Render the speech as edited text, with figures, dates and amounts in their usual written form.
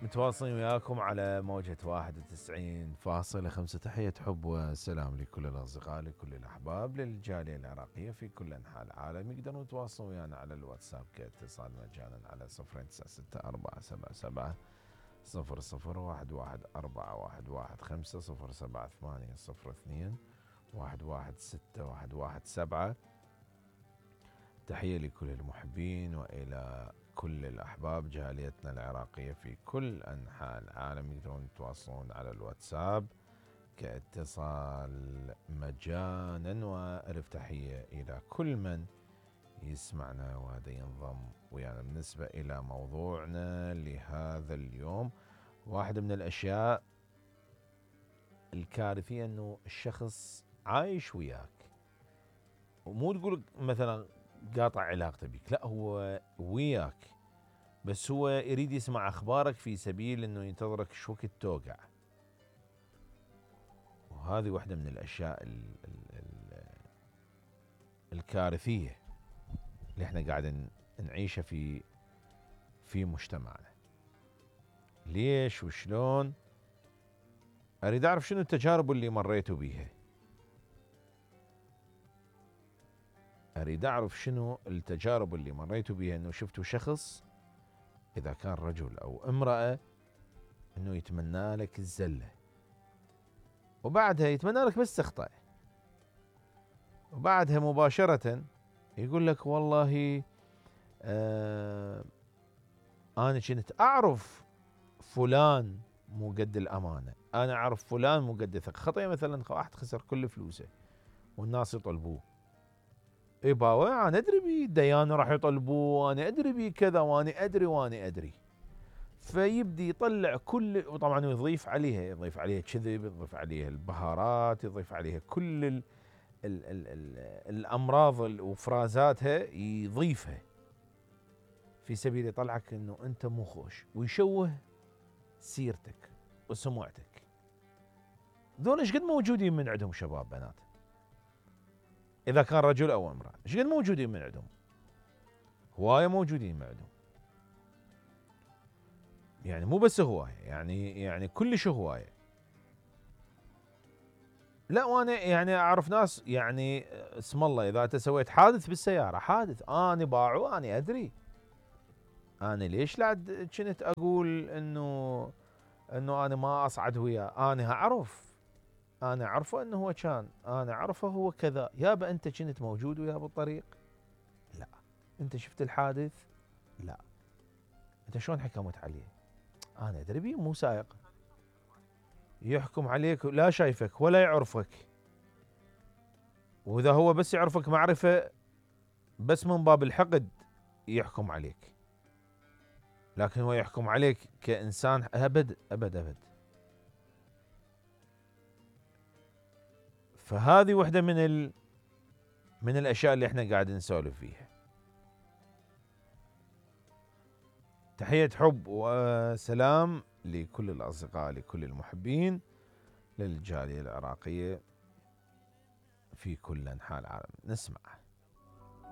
متواصلين وياكم على موجة 91.5. تحية حب وسلام لكل الأصدقاء لكل الأحباب للجالية العراقية في كل أنحاء العالم. يقدرون يتواصلون ويانا على الواتساب كاتصال مجانا على 096477 00111415 078002 116117. تحية لكل المحبين وإلى كل الأحباب جاليتنا العراقية في كل أنحاء العالم. يقدرون يتواصلون على الواتساب كاتصال مجانا. وألف تحية إلى كل من يسمعنا وهذا ينضم ويانا. بالنسبة إلى موضوعنا لهذا اليوم، واحدة من الأشياء الكارثية أنه الشخص عايش وياك ومو تقول مثلا قاطع علاقته بك، لا، هو وياك بس هو يريد يسمع أخبارك في سبيل أنه ينتظرك شو وقت توقع. وهذه واحدة من الأشياء الكارثية اللي احنا قاعدين نعيشها في مجتمعنا. ليش وشلون؟ أريد أعرف شنو التجارب اللي مريتوا بيها. أريد أعرف شنو التجارب اللي مريتوا بيها، أنه شفتوا شخص إذا كان رجل أو امرأة أنه يتمنى لك الزلة وبعدها يتمنى لك بس تخطأ، وبعدها مباشرة يقول لك والله أنا كنت أعرف فلان مو قد الأمانة، أنا أعرف فلان مو قد الثقة. خطأ مثلا واحد خسر كل فلوسه والناس يطلبوه، اي باوع انا ادري بي الديان راح يطلبوه، انا ادري بي كذا وانا ادري فيبدي يطلع كل، وطبعا يضيف عليها كذب، يضيف عليها البهارات، يضيف عليها كل ال الامراض وفرازاتها يضيفها في سبيل يطلعك انه انت مو خوش ويشوه سيرتك وسمعتك. دول ايش قد موجودين من عندهم شباب بنات، إذا كان رجل أو امرأة ايش قد موجودين من عندهم؟ هواية موجودين من عندهم، يعني مو بس هواية، يعني كلش هواية. لا، وانا يعني اعرف ناس يعني اسم الله اذا انت سويت حادث بالسيارة، حادث انا باعو انا ادري، انا ليش لا كنت اقول انه انا ما اصعد وياه، انا اعرف، انا اعرفه انه هو كان، انا اعرفه هو كذا. يابا انت كنت موجود وياه بالطريق؟ لا. انت شفت الحادث؟ لا. انت شلون حكمت عليه؟ انا ادري بيه مو سائق. يحكم عليك لا شايفك ولا يعرفك، واذا هو بس يعرفك معرفة بس من باب الحقد يحكم عليك، لكن هو يحكم عليك كإنسان ابد ابد ابد. فهذه واحدة من الاشياء اللي احنا قاعدين نسولف فيها. تحية حب وسلام لكل الأصدقاء لكل المحبين للجالية العراقية في كل أنحاء العالم. نسمع